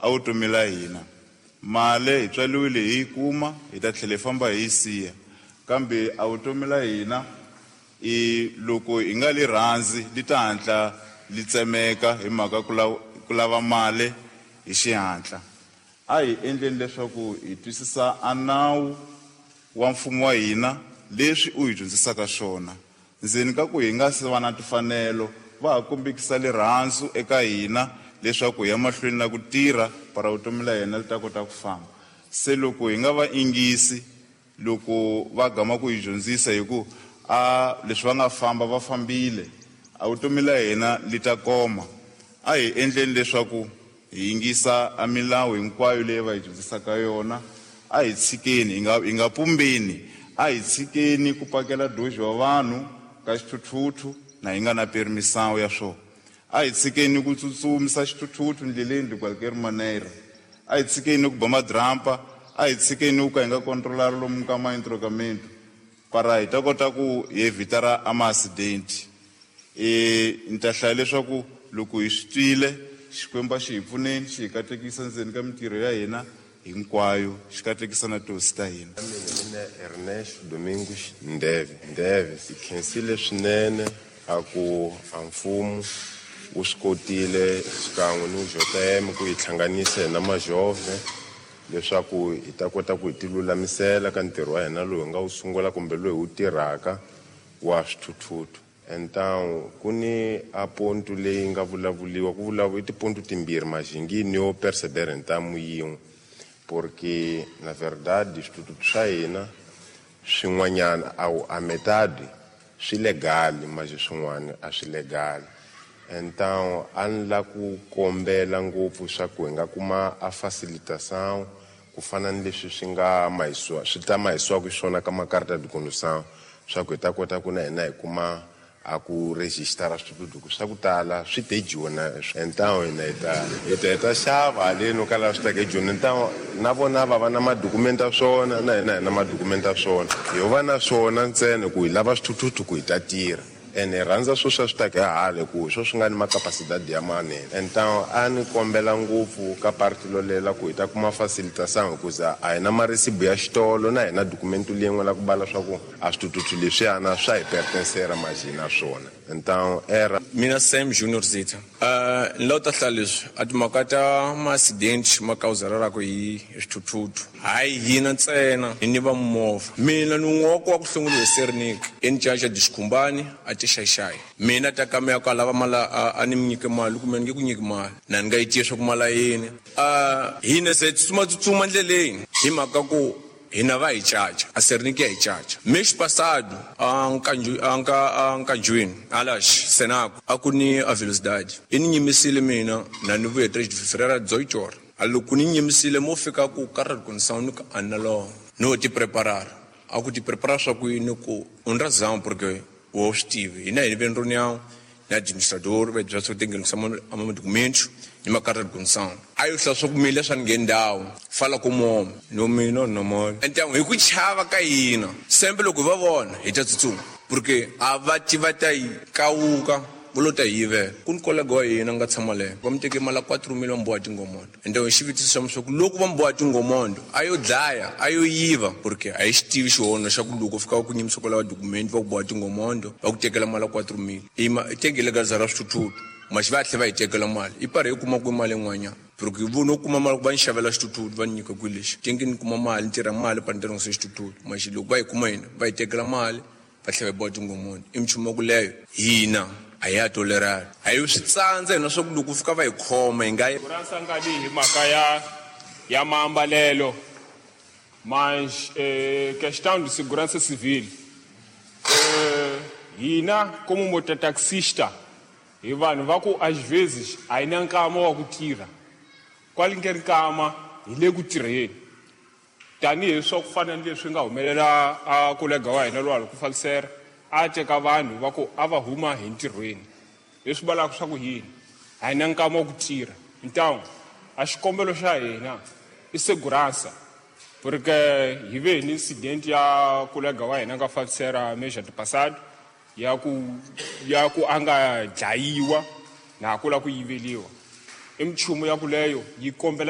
A vutomi la hina mali hi tswaliwile hi yi kuma, hi ta tlhela hi famba hi yi siya, kambe a vutomi la hina i loko hi nga li rhandzi li ta hatla li tsemeka hi mhaka ku lava mali hi xihatla. A hi endleni leswaku hi twisisa a nawu wa mfumo wa hina leswi u hi dyondzisaka swona. Ndzeni ka ku hi nga se va na timfanelo, va ha kombekisa rirhandzu eka hina leswaku hi ya mahlweni na ku tirha para vutomi la hina li ta kota ku famba. Se loko hi nga va ingisi loko va gama ku hi dyondzisa hi ku a leswi va nga famba va fambile, a vutomi la hina li ta koma. A hi endleni leswaku hi yingisa a milawu hinkwayo leyi va hi dyondzisaka yona. A hi tshikeni, hi nga pumbeni, a hi tshikeni ku pakela doji wa vanhu ka xithuthuthu na hi nga na permisawu ya swona. A hi tshikeni ku tsutsumisa xithuthuthu ndleleni de qualquer maneira. A hi tshikeni ku ba madrampa, a hi tshikeni ku ka hi nga kontrolari lomu ka ma-entrocamento para hi ta kota ku hi evitara a ma-accident. Ni ta hlaya leswaku loko hi swi twile, Xikwembu a xi hi pfuneni, xi hi katekisa ndzeni ka mintirho ya hina hinkwayo, xi katekisa na tihosi ta hina. Mina mina Ernesto Domingos Ndeve. Ndeve hi khensile swinene a ku a mfumo wu swi kotile xikan'we ni JTM ku hi hlanganisa hina majove leswaku hi ta kota ku hi ti lulamisela ka ntirho wa hina lowu hi nga wu sungula kumbe lowu hi wu tirhaka wa swithuthuthu. Então ku ni a ponto leyi nga vulavuliwa, ku vulavula i tiponto timbirhi majingini yo perceber ntamu yin'we, porque na verdade swithuthuthu swa hina swin'wanyana a metade swi legal, mas swin'wana a swi legal. Então a ni la ku kombela ngopfu swa ku hi nga kuma a facilitação ku fana ni leswi swi nga mahisiwa, swi ta mahisiwaka xiswona ka makarta de condução, swa ku hi ta kota ku na hina hi kuma a ku registara swithuthuthu swa ku tala swi te jona. Então hina hi ta xava haleni ka laha swi taka ejoni. Então na vona va va na madokumenti ya swona, na hina hi na madokumenti ya swona, hi va na swona ntsena ku hi lava swithuthuthu ku hi ta tirha. Ene hi rhandza swo swa swi taka hi hale ku swo swi nga ni macapacidade ya manene. Então a ni kombela ngopfu ka parti lolela ku hi ta kuma facilitação, hikuza a hi na maresibu ya xitolo na hina dokumento leyin'we la ku bala swa ku a swithuthuthu leswiyana swa hi pertencera majina swona. Então era mina Sam Junior Zita. Ni lava ta hlaya leswi a timhaka ta ma-accident ma kawuzarelaka hi swithuthuthu, hayi hina ntsena hi ni va movha. Mina ni un'we wa ku wa ku hlongoliwa hi Sernik encaca Dixikhumbani a ti xaxayi. Mina ta ka ya ku lava mali a ni mi nyike mali kumbe ni nge ku nyiki mali na ni nga yi tiya swa ku mali ya yini. Hina se tsutsuma tsutsuma ndleleni hi mhaka ku hina va hi caca, a Sernik ya hi caca. Mês passado, a nkanjwini, alax, Senaco, a ku ni a velocidade. I ni nyimisile mina, na ni vuye 3 de fevereiro, 18 horas. A loko ni nyimisile, mo fika ku karra de condução, ni ku a na lowo. No ti preparar. A ku ti preparar swa ku yini ku u ni razão, porque o swi tivi. Hina hi ve reunião, na administrador, va byela swa ku tinghenisa a ma documentos, ni makarta de condução. A yo hlaya swa ku mina leswi a ni ngheni ndhawu, fala ku moma. No mina no mona. Então hi ku chava ka hina, sempre loko hi va vona hi ta tsutsuma, porque a va tiva ta yi kawuka, va lo ta hi yivela. Ku ni kolega wa hina nga tshama leyo, va mi teke mali ya 4 mil va mi boha tingomondo. Então hi xivutiso xa swa ku loko va mi boha tingomondo, a yo dlaya, a yo yiva, porque a hi xi tivi xihono xa ku loko fika ku nyimisa kwalaho document va ku boha tingomondo, va ku tekela mali ya 4 mil. I ma tengile ka zara swithuthuthu, maxi va tlhe va hi tekela mali. I pare hi kuma ku mali yin'wanyana. Porque vo no kuma mali ku va ni xavela xithuthuthu, va ni nyika ku lexi. Tenge ni kuma mali, ni tirha mali, pa ni tirhisa xithuthuthu. Maxi loko va yi kuma hina, va hi tekela mali, va tlhela va boha tingomondo. I minchumu ya ku leyo hina a ya tolerali. A yi swi tsandza hina swa ku loko fika va hi khoma hi nga yi. Segurança nga vi hi mhaka ya maambalelo, mas questão de segurança civil. Hina como mototaxista hi vanhu va ku às vezes a hi na nkama wa ku tirha. Kwale nge nkama hi le ku tirheni. Tanihi swa ku fana ni leswi nga humelela a kolega wa hina lowa ku fambisela, a teka vanhu va ku a va huma hi ntirhweni. Leswi vulaka swa ku yini? A hi na nkama wa ku tirha. Então a xikombelo xa hina i segurança, porque hi ve ni incident ya kolega wa hina nga fambisela mês passado ya ku a nga dlayiwa na ku la ku yiveliwa. I minchumu ya kuleyo yi kombela